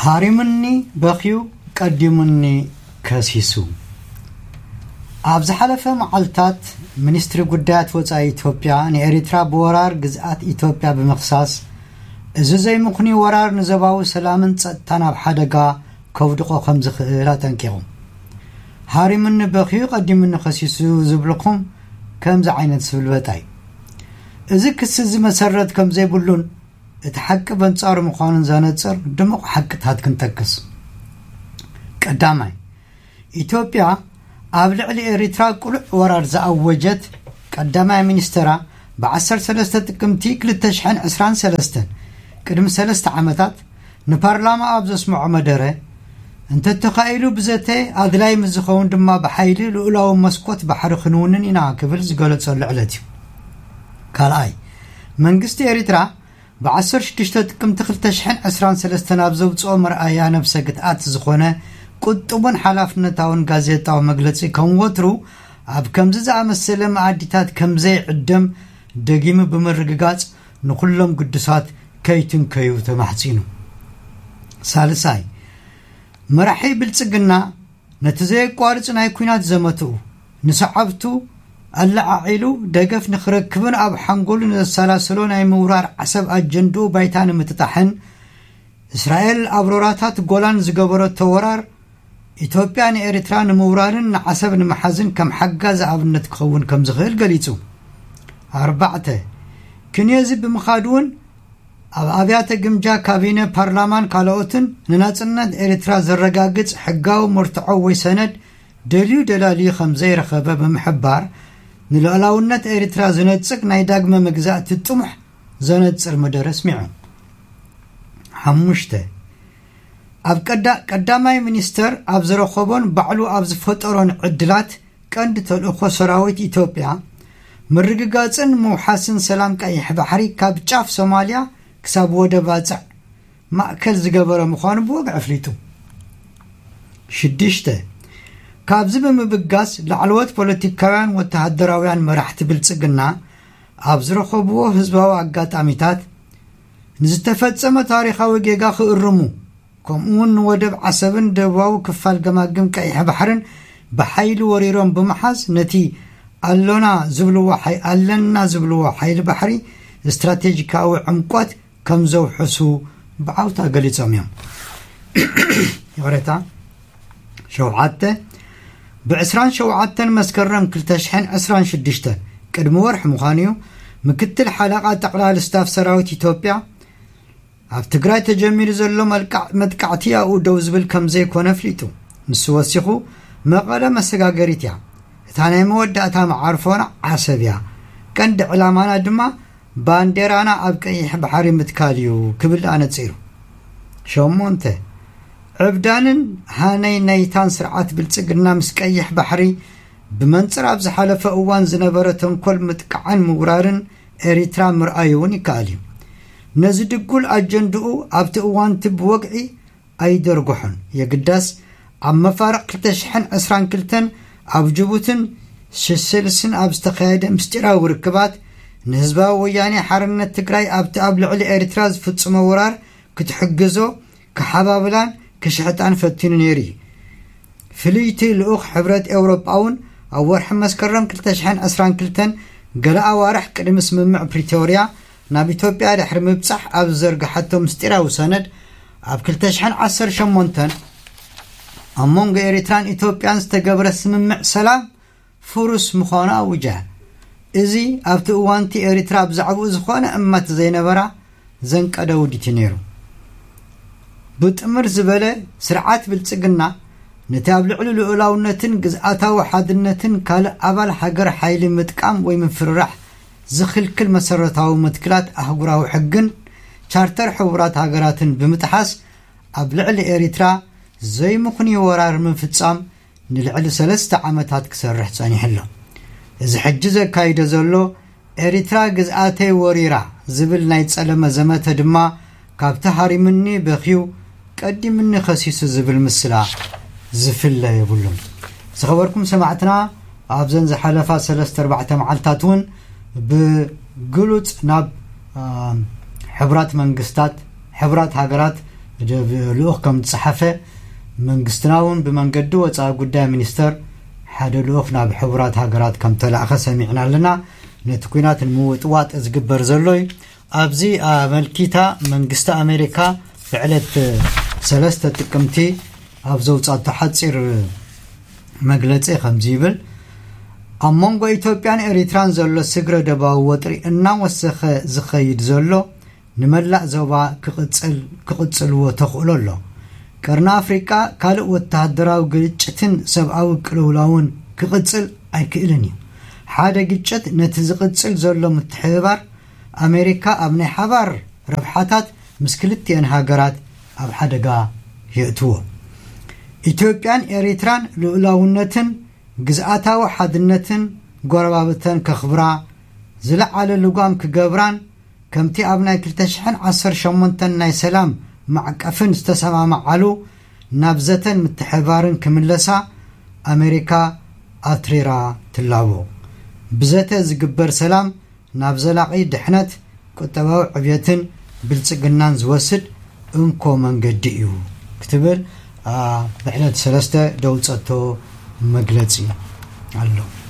ሃሪሙኒ በኽዩ ቀዲሙኒ ከሲሱ። ኣብ ዝሓለፈ መዓልታት ሚኒስትሪ ጉዳያት ወጻኢ ኢትዮጵያ ንኤሪትራ ብወራር ግዝኣት ኢትዮጵያ ብምኽሳስ፣ እዚ ዘይምኽኑይ ወራር ንዞባዊ ሰላምን ጸጥታን ኣብ ሓደጋ ከውድቖ ከም ዝኽእል ኣጠንቂቑ። ሃሪሙኒ በኽዩ ቀዲሙኒ ከሲሱ ዝብልኩም ከምዚ ዓይነት ስብልበጣ እዩ። እዚ ክሲ እዚ መሰረት ከም ዘይብሉን እቲ ሓቂ በንጻሩ ምዃኑን ዘነጽር ድሙቕ ሓቅታት ክንጠቅስ። ቀዳማይ፣ ኢትዮጵያ ኣብ ልዕሊ ኤሪትራ ቅሉዕ ወራር ዝኣወጀት ቀዳማይ ሚኒስተራ ብ13 ጥቅምቲ 2023፣ ቅድሚ ሰለስተ ዓመታት፣ ንፓርላማ ኣብ ዘስምዖ መደረ፣ እንተተኻኢሉ ብዘተ፣ ኣድላይ ምስ ዝኸውን ድማ ብሓይሊ ልኡላዊ መስኮት ባሕሪ ክንውንን ኢና ክብል ዝገለጸሉ ዕለት እዩ። ካልኣይ፣ መንግስቲ ኤሪትራ ብ16 ጥቅምቲ 2023 ኣብ ዘውጽኦ መርኣያ ነብሰ ግትኣት ዝኾነ ቁጥቡን ሓላፍነታውን ጋዜጣዊ መግለጺ፣ ከም ወትሩ ኣብ ከምዚ ዝኣመሰለ መኣዲታት ከም ዘይዕደም ደጊሙ ብምርግጋጽ፣ ንኹሎም ግዱሳት ከይትንከዩ ተማሕጺኑ። ሳልሳይ፣ መራሒ ብልጽግና ነቲ ዘየቋርጽ ናይ ኲናት ዘመትኡ ንሰዓብቱ ኣለዓዒሉ ደገፍ ንኽረክብን ኣብ ሓንጎሉ ንዘሰላስሎ ናይ ምውራር ዓሰብ ኣጀንድኡ ባይታ ንምጥጣሕን፣ እስራኤል ኣብ ሮራታት ጎላን ዝገበረቶ ወራር፣ ኢትዮጵያ ንኤርትራ ንምውራርን ንዓሰብ ንምሓዝን ከም ሓጋዚ ኣብነት ክኸውን ከም ዝኽእል ገሊጹ። ኣርባዕተ፣ ክንዮዚ ብምኻድ እውን ኣብ ኣብያተ ግምጃ ካቢነ ፓርላማን ካልኦትን ንናጽነት ኤርትራ ዘረጋግጽ ሕጋዊ መርትዖ ወይ ሰነድ ደልዩ ደላልዩ ከም ዘይረኸበ ብምሕባር፣ ንልኡላውነት ኤርትራ ዝነጽግ ናይ ዳግመ መግዛእቲ ጥሙሕ ዘነጽር መደረ ኣስሚዑ። ሓሙሽተ፣ ኣብ ቀዳ-፣ ቀዳማይ ሚኒስተር ኣብ ዝረኸቦን ባዕሉ ኣብ ዝፈጠሮን ዕድላት፣ ቀንዲ ተልእኾ ሰራዊት ኢትዮጵያ ምርግጋጽን ምውሓስን ሰላም ቀይሕ ባሕሪ ካብ ጫፍ ሶማልያ ክሳብ ወደብ ባጽዕ ማእከል ዝገበረ ምዃኑ ብወግዒ ኣፍሊጡ። ሽዱሽተ፣ ካብዚ ብምብጋስ፣ ላዕለዎት ፖለቲካውያን ወተሃደራውያን መራሕቲ ብልጽግና ኣብ ዝረኸብዎ ህዝባዊ ኣጋጣሚታት፣ ንዝተፈጸመ ታሪኻዊ ጌጋ ክእርሙ፣ ከምኡውን ንወደብ ዓሰብን ደቡባዊ ክፋል ገማግም ቀይሕ ባሕርን ብሓይሊ ወሪሮም ብምሓዝ፣ ነቲ ኣሎና ዝብልዎ ሓይ-፣ ኣለና ዝብልዎ ሓይሊ ባሕሪ ስትራቴጂካዊ ዕምቆት ከም ዘውሕሱ ብዓውታ ገሊጾም እዮም። ይቕሬታ። ሸውዓተ፣ ብ27 መስከረም 2026፣ ቅድሚ ወርሒ ምዃኑ እዩ፣ ምክትል ሓለቓ ጠቕላሊ ስታፍ ሰራዊት ኢትዮጵያ፣ ኣብ ትግራይ ተጀሚሩ ዘሎ መልቃዕ-፣ መጥቃዕቲ ኣብኡ ደው ዝብል ከም ዘይኮነ ኣፍሊጡ። ንሱ ወሲኹ፣ መቐለ መሰጋገሪት እያ። እታ ናይ መወዳእታ መዓርፎና ዓሰብ እያ። ቀንዲ ዕላማና ድማ ባንዴራና ኣብ ቀይሕ ባሕሪ ምትካል እዩ ክብል ኣነጺሩ። ሸሞንተ፣ ዕብዳንን ሃነይ ናይታን ስርዓት ብልጽግና ምስ ቀይሕ ባሕሪ ብመንጽር ኣብ ዝሓለፈ እዋን ዝነበረ ተንኮል ምጥቃዕን ምውራርን ኤሪትራ ምርኣዩ እውን ይከኣል እዩ። ነዚ ድጉል ኣጀንድኡ ኣብቲ እዋንቲ ብወግዒ ኣይደርጎሖን። የግዳስ ኣብ መፋርቕ 2022 ኣብ ጅቡትን ሸሸልስን ኣብ ዝተኻየደ ምስጢራዊ ርክባት፣ ንህዝባዊ ወያኔ ሓርነት ትግራይ ኣብቲ ኣብ ልዕሊ ኤርትራ ዝፍጽሞ ወራር ክትሕግዞ፣ ክሓባብላን ክሽሕጣን ፈቲኑ ነይሩ እዩ። ፍልይቲ ልኡኽ ሕብረት ኤውሮጳ እውን ኣብ ወርሒ መስከረም 2022፣ ገለ ኣዋርሕ ቅድሚ ስምምዕ ፕሪቶርያ ናብ ኢትዮጵያ ድሕሪ ምብጻሕ፣ ኣብ ዝዘርግሓቶ ምስጢራዊ ሰነድ፣ ኣብ 2018 ኣብ መንጎ ኤሪትራን ኢትዮጵያን ዝተገብረ ስምምዕ ሰላም ፍሩስ ምዃኑ ኣውጃ። እዚ ኣብቲ እዋንቲ ኤሪትራ ብዛዕባኡ ዝኾነ እማት ዘይነበራ ዘንቀደ ውዲት እዩ ነይሩ። ብጥምር ዝበለ ስርዓት ብልጽግና፣ ነቲ ኣብ ልዕሊ ልኡላውነትን ግዝኣታዊ ሓድነትን ካልእ ኣባል ሃገር ሓይሊ ምጥቃም ወይ ምፍርራሕ ዝኽልክል መሰረታዊ መትክላት ኣህጉራዊ ሕግን ቻርተር ሕቡራት ሃገራትን ብምጥሓስ፣ ኣብ ልዕሊ ኤሪትራ ዘይምኽኑይ ወራር ምፍጻም ንልዕሊ ሰለስተ ዓመታት ክሰርሕ ጸኒሑ ኣሎ። እዚ ሕጂ ዘካይዶ ዘሎ ኤሪትራ ግዝኣተይ ወሪራ ዝብል ናይ ጸለመ ዘመተ ድማ፣ ካብቲ ሃሪምኒ በኽዩ ቀዲምኒ ከሲሱ ዝብል ምስላ ዝፍለ የብሉን። ዝኸበርኩም ሰማዕትና፣ ኣብዘን ዝሓለፋ ሰለስተ ኣርባዕተ መዓልታት እውን ብግሉጽ ናብ፣ አ፣ ሕቡራት መንግስታት፣ ሕቡራት ሃገራት መደብ ልኡኽ ከም ዝጸሓፈ፣ መንግስትና እውን ብመንገዲ ወጻኢ ጉዳይ ሚኒስተር ሓደ ልኡኽ ናብ ሕቡራት ሃገራት ከም ተላእኸ ሰሚዕና ኣለና። ነቲ ኲናት ንምውጥዋጥ ዝግበር ዘሎ እዩ። ኣብዚ ኣመልኪታ መንግስቲ ኣሜሪካ ብዕለት ሰለስተ ጥቅምቲ ኣብ ዘውጻቶ ሓጺር መግለጺ ከምዚ ይብል። ኣብ መንጎ ኢትዮጵያን ኤሪትራን ዘሎ ስግረ ደባዊ ወጥሪ እናወሰኸ ዝኸይድ ዘሎ ንመላእ ዞባ ክቕጽል ክቕጽልዎ ተኽእሎ ኣሎ። ቀርኒ ኣፍሪቃ ካልእ ወተሃደራዊ ግጭትን ሰብኣዊ ቅልውላውን ክቕጽል ኣይክእልን እዩ። ሓደ ግጭት ነቲ ዝቕጽል ዘሎ ምትሕብባር ኣሜሪካ ኣብ ናይ ሓባር ረብሓታት ምስ ክልቲኤን ሃገራት ኣብ ሓደጋ የእትዎ። ኢትዮጵያን ኤሪትራን ልኡላውነትን ግዝኣታዊ ሓድነትን ጎረባብተን ከኽብራ፣ ዝለዓለ ልጓም ክገብራን ከምቲ ኣብ ናይ ክልተ ሽሕን ዓሰርተ ሸሞንተን ናይ ሰላም ማዕቀፍን ዝተሰማማዓሉ ናብ ዘተን ምትሕባርን ክምለሳ ኣሜሪካ ኣትሪራ ትላቦ። ብዘተ ዝግበር ሰላም ናብ ዘላቒ ድሕነት፣ ቁጠባዊ ዕብየትን ብልጽግናን ዝወስድ እንኮ መንገዲ እዩ ክትብል ብዕለት ሰለስተ ደውጸቶ መግለጺ ኣሎ።